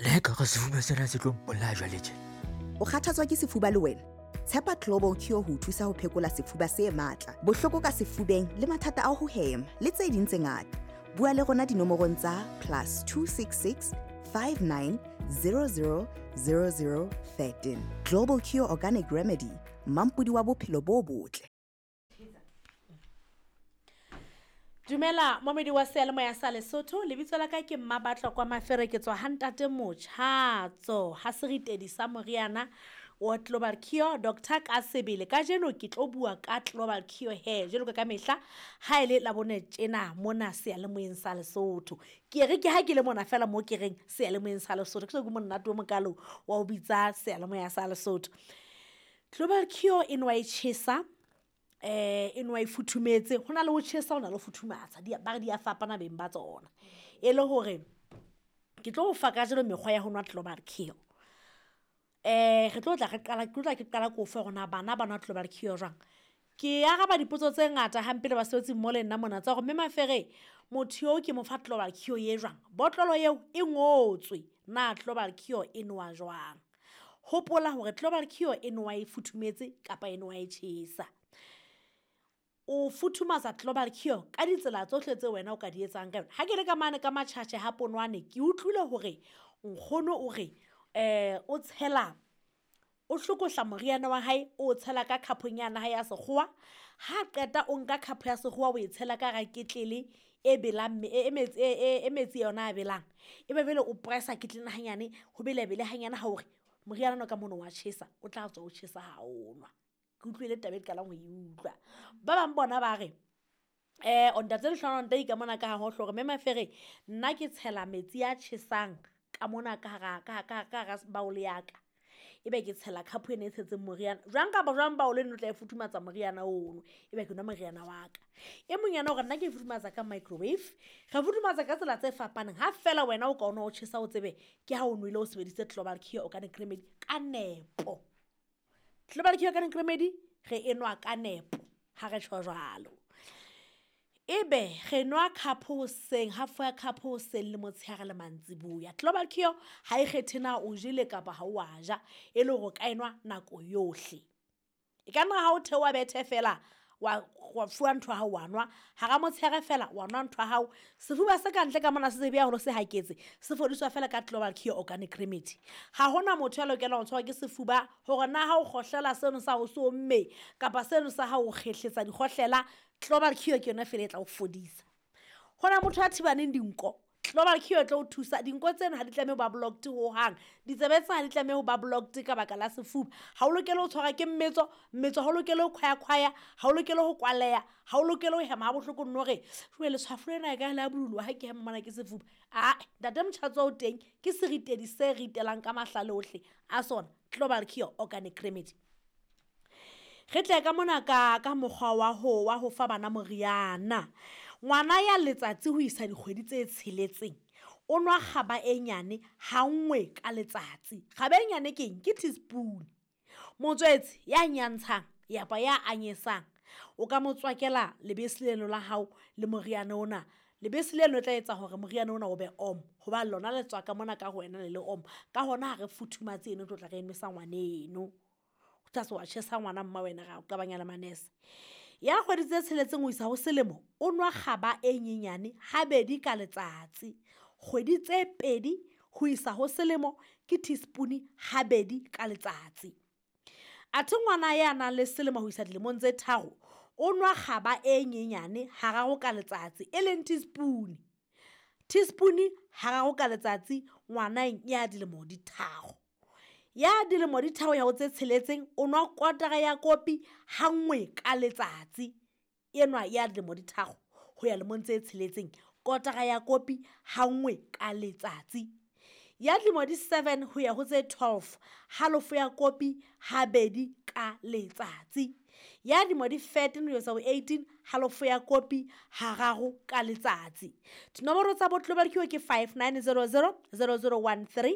Le ha ekare sefuba sena se tlo mpolaya jwale tje. O kgathatswa ke sefuba le wena? Tshepa Global Cure ho o thusa ho phekola sefuba se matla, bohloko ka sefubeng le mathata a ho hema le tse ding tse ngata. Bua le rona dinomorong tsa +266 59 00 00 13. Global Cure Organic Remedy, mampodi wa bophelo bo botle. Dumela momedi wa seyalemoya sa Lesotho, lebitso la ka ke Mmabatlo kwa Mafere, ke tswa ha ntate Motjhatso ha seritedi sa moriana wa Global Cure Doctor ka sebele. Kajeno ke tlo bua ka Global Cure he jwalo ka mehla ha ele la bone tjena mona seyalemoyeng sa Lesotho. Ke re ke ha ke le mona fela mo ke reng seyalemoyeng sa Lesotho, ke so ke monate o mokalo wa ho bitsa seyalemoya sa Lesotho. Global Cure e nwa e tjhesa, e nwa e futhumetse, ho na le ho tjhesa, ho na le ho futhumatsa, ba re di a fapana beng ba tsona. E le hore ke tlo o fa kajeno mekgwa ya ho nwa Global Cure. Re tlo tla re qala, ke tlo tla ke qala ko fe hore na bana ba nwa Global Cure jwang. Ke araba dipotso tse ngata hampe le basebetsi mmoho le nna mona tsa hore mme Mafere motho eo ke mo fa Global Cure ye jwang. Botlolo eo e ngotswe na Global Cure e nowa jwang. Hopola hore Global Cure e nowa e futhumetse kapa e nowa e tjhesa. O futhumatsa Global Cure ka ditsela tsohle tse wena o ka di etsang ka yona. Ha ke le ka mane ka Matjhatjhe ha Ponwane, ke utlwile hore nkgono o re o tshela, o hlokohla moriana wa hae, o tshela ka khapong ya hae ya sekgowa. Ha qeta o nka khapo ya sekgowa o e tshela ka hara ketlele e belang e metsi, e metsi yona a belang. Ebe jwale o pressa ketlele hanyane, ho bele bele hanyane ha hore moriana ona ka mono wa tjhesa, o tla tswa o tjhesa ha o nwa. Ke utlwile taba e qalang ho e utlwa. Ba bang bona ba re o ntate Lehlohonolo Ntai ka mona ka ha hohle hore mme Mafere nna ke tshela metsi a tjhesang ka mona ka hara, ka, ka, ka hara bowl ya ka. Ebe ke tshela cup ena e tshetseng moriana. Jwang kapa jwang bowl eno tla e futhumatsa moriana ono. Ebe ke nwa moriana wa ka. E mong yena hore nna ke e futhumatsa ka microwave. Re futhumatsa ka tsela tse fapaneng. Ha fela wena o ka ona o tjhesa o tsebe ke ha o nwele o sebedisitse Global Cure Organic Remedy ka nepo. Global Cure Organic Remedy re enwa ka nepo ha re tjho jwalo. Ebe re nwa cup hoseng, half ya cup hoseng le motshehare le mantsiboya. Global Cure ha e kgethe na o jele kapa ha o a ja, e le hore o ka enwa nako yohle. E ka nna ha o theoha bethe fela wa fuwa ntho ya hao wa nwa, hara motshehare fela wa nwa ntho ya hao. Sefuba se ka ntle ka mona se sebe haholo se haketse, se fodiswa fela ka Global Cure Organic Remedy. Ha hona motho ya lokelang ho tshwarwa ke sefuba hore na ha o kgohlela seno sa hao se omme kapa seno sa hao o kgehletsa dikgohlela, Global Cure ke yona fela e tla o fodisa. Hona motho a thibaneng dinko, Global Cure e tlo o thusa. Dinko tseno ha di tlamehe ho ba blocked hohang, ditsebe tsena ha di tlamehe ho ba blocked ka baka la sefuba. Ha o lokele ho tshwarwa ke mmetso, mmetso ha o lokele ho khwaya-khwaya, ha o lokele ho kwaleha, ha o lokele ho hema ha bohloko nno hore jwale letshwafo lena e ka le a bululwa ha ke hema mona ke sefuba. Ae, ntate Motjhatso o teng ke seritedi se ritelang ka mahlale ohle a sona Global Cure Organic Remedy. Re tle ka mona ka mokgwa wa ho fa bana moriana. Ngwana ya letsatsi ho isa dikgwedi tse tsheletseng o nwa kgaba e nyane ha nngwe ka letsatsi. Kgaba e nyane ke eng? Ke teaspoon. Motswetse ya nyantshang yapa ya anyesang o ka mo tswakela lebese leno la hao le moriana ona. Lebese leno le tla etsa hore moriana ona o be om, hoba lona le tswa ka mona ka ho wena le le om. Ka hona ha re futhumatse eno tlo tla re nwesa ngwaneno. O tla se wa tjhesa ngwana mma wena ra o qabanya le manese. Ya kgwedi tse tsheletseng ho isa ho selemo o nwa kgaba e nyenyane habedi ka letsatsi. Kgwedi tse pedi ho isa ho selemo ke teaspoon habedi ka letsatsi. Athe ngwana ya nang le selemo ho isa dilemong tse tharo o nwa kgaba e nyenyane hararo ka letsatsi, e leng teaspoon. Teaspoon hararo ka letsatsi ngwaneng ya dilemo di tharo. Ya dilemo di tharo ya ho tse tsheletseng o nwa kotara ya kopi ha nngwe ka letsatsi. Enwa ya dilemo di tharo ho ya lemong tse tsheletseng, kotara ya kopi ha nngwe ka letsatsi. Ya dilemo di 7 ho ya ho tse 12, halofo ya kopi habedi ka letsatsi. Ya dilemo di 13 ho isa ho 18, halofo ya kopi hararo ka letsatsi. Dinomoro tsa bo Global Cure ke 5900 0013.